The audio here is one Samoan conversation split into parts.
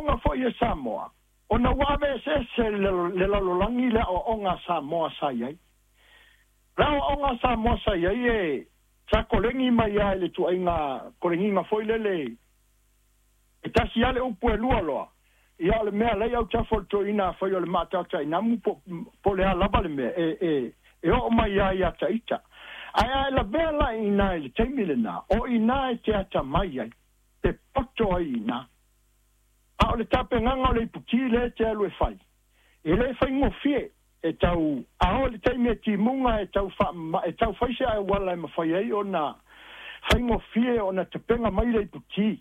aoaoga foi e Samoa, ona ua aveeseese le lalolagi le aoaoga a Samoa sa i ai. Le aoaoga a Samoa sa i ai e sa kolegi mai lava i le tuaiga kolegiga foi lele e tasi lava le upu e lua loa, ia o le mea lea i autafa o le toeaina afai o le maatautainamu po o le a lava le mea, e oo mai lava ia ita. Ae a e lavea la i ina i le taimi lena, o i ina e te atamai ai, te poto ai i ina. A o le tapenaga o le iputi lea e te alu e fai, e le faigofie e tau a oo i le taimi e timuga e tau e tau fai se auala e mafai ai ona faigofie ona tapena mai le iputi.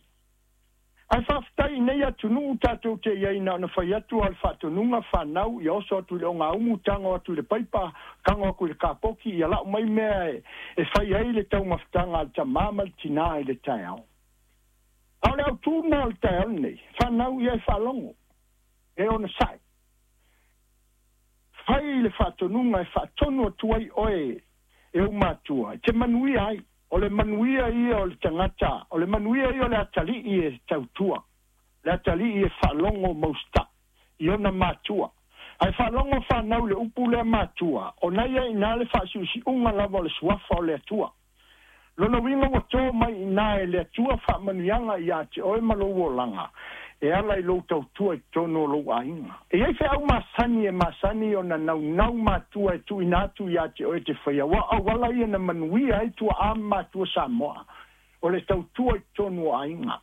Ae faafetai i nei atunuu tatou te i ai na ona fai atu lava o le faatonuga fanau ia oso atu i le ogaumu, tago atu i le paipa, tago atu i le kapoki, ia lau mai mea e fai ai le taumafataga a le tamā ma le tinā i le taeao. A o le autū lena o le taeao lenei, fanau ia e faalogo, e onosai. Fai le faatonuga e faatonu atu ai oe e ou matua, e te manuia ai. O le manuia ia o le tagata, o le manuia ia o le atalii e tautua, le atalii e faalogo mausita'i i ona matua. Ae faalogo fanau i le upu lea matua, ona ia i ina le faasiusiuga lava o le suafa o le Atua. Lona uiga ua to mai i ina e le Atua faamanuiaga ia te oe ma lou olaga, e ala i lou tautua i totonu o lou aiga. E i ai feau masani e masani ona naunau matua e tuuina atu ia te oe e te faia, aua o auala ia na manuia ai tuaa ma matua Samoa, o le tautua i totonu o aiga.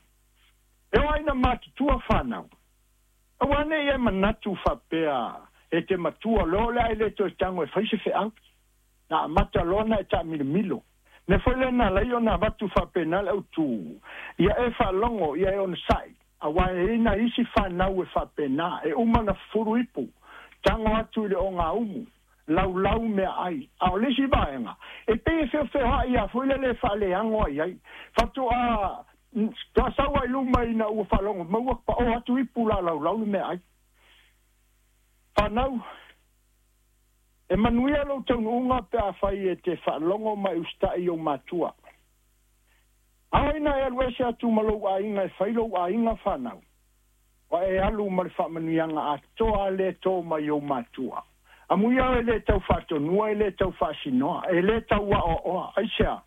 E oo ai ina matutua fanau, aua ne i e manatu faapea e te matua loa o le a e le toe tago e fai se feau. Na amata loa ona e taamilomilo. Mea foi lea na ala ai ona avatu faapena le autu, ia e faalogo, ia e onosai, aua e i ai nai isi fanau e faapena, e uma ona fufulu ipu, tago atu i le ogaumu, laulau meaai. A o le isi vaega, e pei e feofeoai lava foi lele e faaleago ai ai. Faatoa toa sau ai luma ina ua faalogo mai ua paoa atu ipu la laulau le meaai. Fanau, e manuia lou taunuuga pe afai e te faalogo ma e usitai i ou matua. Ao ina e alu ese atu ma lou aiga e fai lou aiga fanau, ua e alu ma le faamanuiaga atoa lea e to mai i ou matua. Amuia e le tau faatonua, e le tau faasinoa, e le tau aoaoa. Aisea?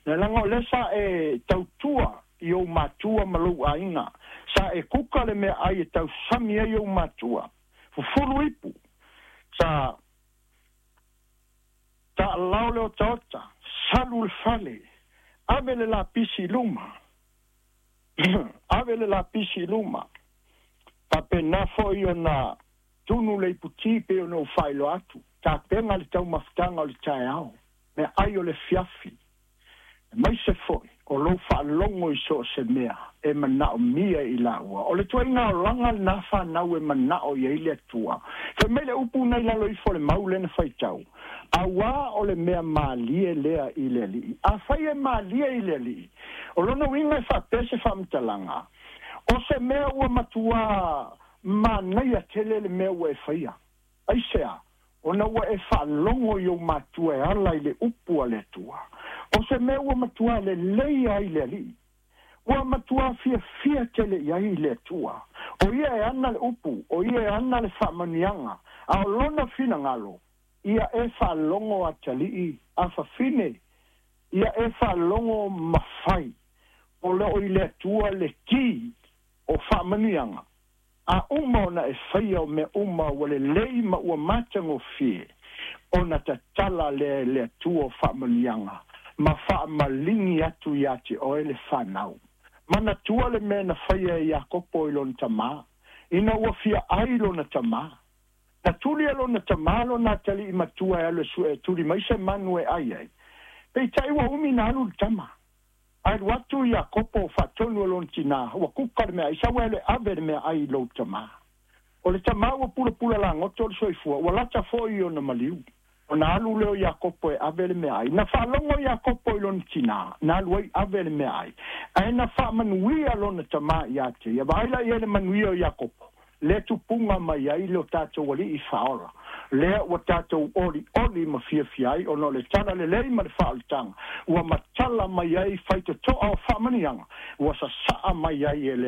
Leaga o lea sa e tautua i ou matua ma lou aiga. Sa e kuka le meaai e tausami ai ou matua. Fufulu ipu. Sa taalao le otaota, salu le fale, ave le lapisi i luma, ave le lapisi i luma. Faapena foi ona tunu le iputi pei ona ou faailoa atu, tapena le taumafataga o le taeao, meaai o le afiafi, aemaise foi o lou faalogo i so o se mea e manaomia i laua. O le tuaiga olaga lena fanau e manao i ai le Atua. Fai mai le upu na i lalo ifo o le mau lea na faitau, Auā o le mea malie lea i le Alii. Afai e malie i le Alii, o lona uiga e faapea se faamatalaga, o se mea ua matuā manaia tele le mea ua e faia. Aisea? Ona ua e faalogo i ou matua e ala i le upu a le Atua. O se mea ua matuā lelei ai le Alii. Ua matuā fiafia tele i ai le Atua. O ia e ana le upu, o ia e ana le faamanuiaga, a o lona finagalo, ia e faalogo atalii, afafine, ia e faalogo ma fai. O lo o i le Atua le ki o faamanuiaga. A uma ona e faia o mea uma ua lelei ma ua matagofie, ona tatala lea e le Atua o faamanuiaga ma faamaligi atu iā te oe le fanau. Manatua le mea na faia e Iakopo i lona tamā, ina ua fia ai lona tamā. Na tuli e lona tamā lona atalii matua e alu e sue e tuli mai se manu e ai ai. Peitai ua umi na alu le tama. Ae alu atu Iakopo o faatonu e lona tinā, ua kuka le meaai, sau e alu e ave le meaai i lou tamā. O le tamā ua pulapula lagoto o le soifua, ua lata foi i ona maliu. Ona alu lea o Iakopo e ave le meaai. Na faalogo Iakopo i lona tinā, na alu ai ave le meaai. Ae na faamanuia lona tamā ia te ia. Vaai la i ai le manuia o Iakopo, lea tupuga mai ai lo tatou Alii Faaola, lea ua tatou olioli ma fiafia ai ona o le tala lelei ma le faaolataga ua matala mai ai faitotoa o faamanuiaga ua sasaa mai ai e le